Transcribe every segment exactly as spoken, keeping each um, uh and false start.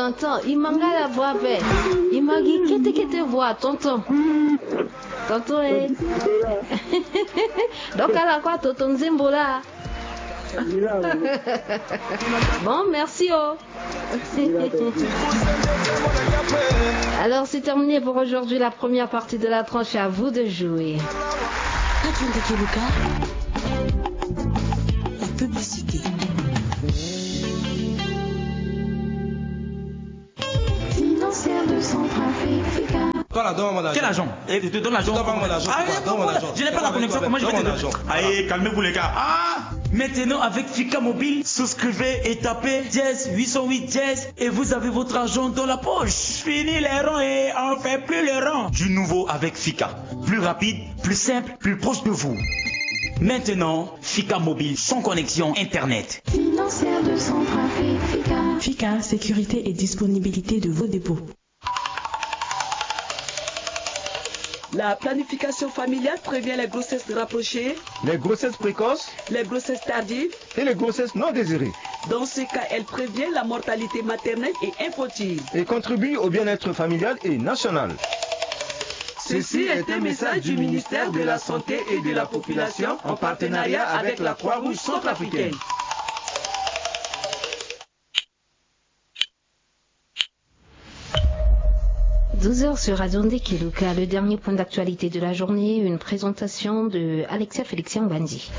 Tonton, i ma nga la voix ape. I ma gi kete kete voix, tonton. Tonton, eh. Donc, ala kue tonton nzembo la. Bon, merci, oh. Alors, c'est terminé pour aujourd'hui, la première partie de la tranche. À vous de jouer. Radio Ndekeluka, la publicité. Financière de Centrafrique. Quel agent ? Eh, tu donnes l'agent. Ah, je n'ai pas la connexion, comment je vais te donner ? Allez, calmez-vous, les gars. Ah ! Maintenant, avec Fika Mobile, souscrivez et tapez dièse huit cent huit dièse et vous avez votre argent dans la poche. Fini les ronds et on fait plus les ronds. Du nouveau avec Fika. Plus rapide, plus simple, plus proche de vous. Maintenant, Fika Mobile sans connexion Internet. Financière de Centrafrique, Fika. Fika, sécurité et disponibilité de vos dépôts. La planification familiale prévient les grossesses rapprochées, les grossesses précoces, les grossesses tardives et les grossesses non désirées. Dans ce cas, elle prévient la mortalité maternelle et infantile et contribue au bien-être familial et national. Ceci est un message du ministère de la Santé et de la Population en partenariat avec la Croix-Rouge centrafricaine. Douze heures sur Radio Ndekeluka, le dernier point d'actualité de la journée, une présentation de Alexia Félixien Bandi.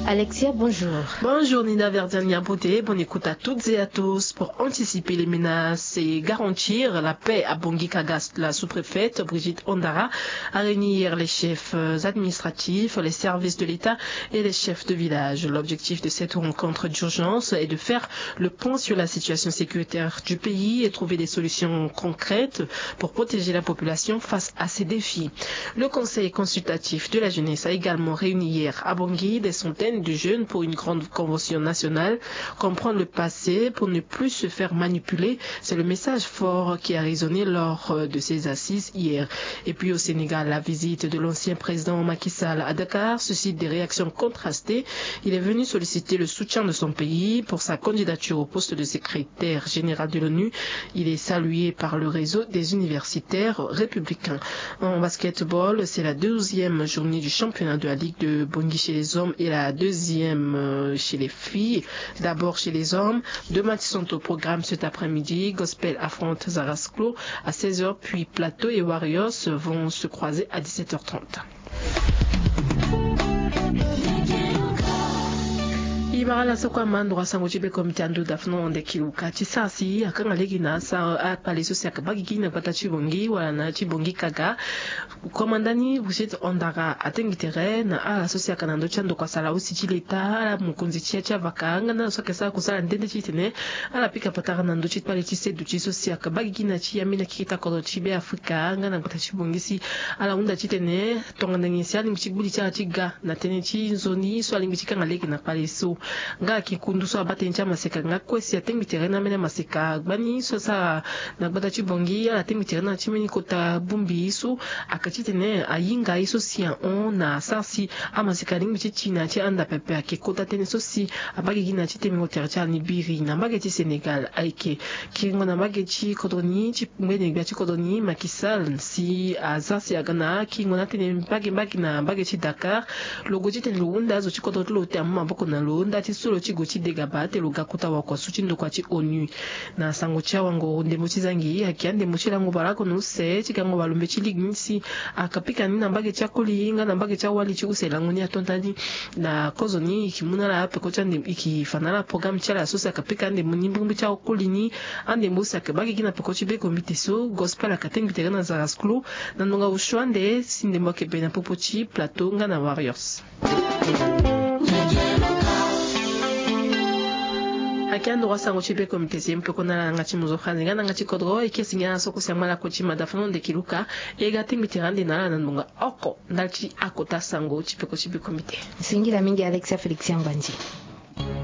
Alexia, bonjour. Bonjour Nina Verdian Niabote, bonne écoute à toutes et à tous. Pour anticiper les menaces et garantir la paix à Bangui Kaga, la sous-préfète Brigitte Ondara a réuni hier les chefs, euh, administratifs, les services de l'État et les chefs de village. L'objectif de cette rencontre d'urgence est de faire le point sur la situation sécuritaire du pays et trouver des solutions concrètes pour protéger la population face à ces défis. Le Conseil consultatif de la jeunesse a également réuni hier à Bangui des centaines de jeunes pour une grande convention nationale. Comprendre le passé pour ne plus se faire manipuler, c'est le message fort qui a résonné lors, euh, de ces assises hier. Et puis au Sénégal, la visite de l'ancien président Macky Sall à Dakar suscite des réactions contrastées. Il est venu solliciter le soutien de son pays pour sa candidature au poste de secrétaire général de l'ONU. Il est salué par le réseau des universitaires républicains. En basketball, c'est la douzième journée du championnat de la Ligue de Bangui chez les hommes et la deuxième, euh, chez les filles. D'abord chez les hommes, deux matchs sont au programme cet après-midi. Gospel affronte Zarasclo à seize heures, puis Plateau et Warriors vont se croiser à dix-sept heures trente. I bara la soko amandro a sango ti be komite ando dafno onde kiluka ti sara si akanga lege na sa akpale so si akaba gigi na gbata ti Bangui wala na ti Bangui Kaga. Komanda ni Brigitte Ondara atengbi tere na ala so si aka na ndö ti andokua sala aussi ti leta, ala mokonzi ti ya ti avaka nga na ala so ayeke sara kusala nde nde titene ala pika patara na ndö ti kpale ti seduti so si aka baa gigi na ti ambeni akeketa kodro ti Be Afrika nga na gbata ti Bangui si ala hunda titene tongana nyen si alingbi ti gbu li ti ala ti ga na tënë ti nzoni so alingbi ti kanga lege na kpale so. Nga ayeke kundu so abaa tënë ti amaseka nga kue si atengbi tere na ambeni amaseka gbani so asara na gbata ti Bangui, ala tengbi tere na ti mbeni kota bongbi so ayeke titene ahinga ye so si ahon na asara si amaseka alingbi ti ti na ya ti ahanda pepe. Ayeke kota tënë so si abaa gigi na ya ti temengo tere ti ala ni biri na mbage ti Sénégal. Ayeke kiringo na mbage ti kodro ni ti ngbene gbia ti kodro ni Macky Sall si azia si aga na kiringo na atënë mbage mbage na mbage ti Dakar. Lo gue titene lo hunda azo ti kodro ti lo ti amu maboko na lo nda ti so lo ti gue ti degaba ate lo ga kota wakua so ti ndokua ti ONU. Na sango ti awangoro ndembo ti zangi ayeke andembo ti lango bale oko na use ti gango bale lombe ti ligue ni si aka pika ni na mbage ti akoli nga na mbage ti awali ti use lango ni ato nda ni. Na kozo ni e yeke mu na ala peko ti andembo, e yeke fa na ala programme ti ala so si aka pika andembo ni mbirimbiri ti akoli ni. Andembo so si aka baa gigi na peko ti be komite so Gospel aka tengbi tere na Zarasclo na ndonga osio ande si ndembo ayeke bere na popo ti Plateau nga na Warriors. Ayeke ando wa sango ti be komite si e mu peko na ala na yanga ti mozo franzi nga na yanga ti kodro. E kiri si ngia na soko si angba lakue ti mada fano ndeke luka. E ga tengbi tere ande na ala na ndonga oko ndali ti akota sango ti peko ti be komite. Singila mingi Alexia Félix Yambandi.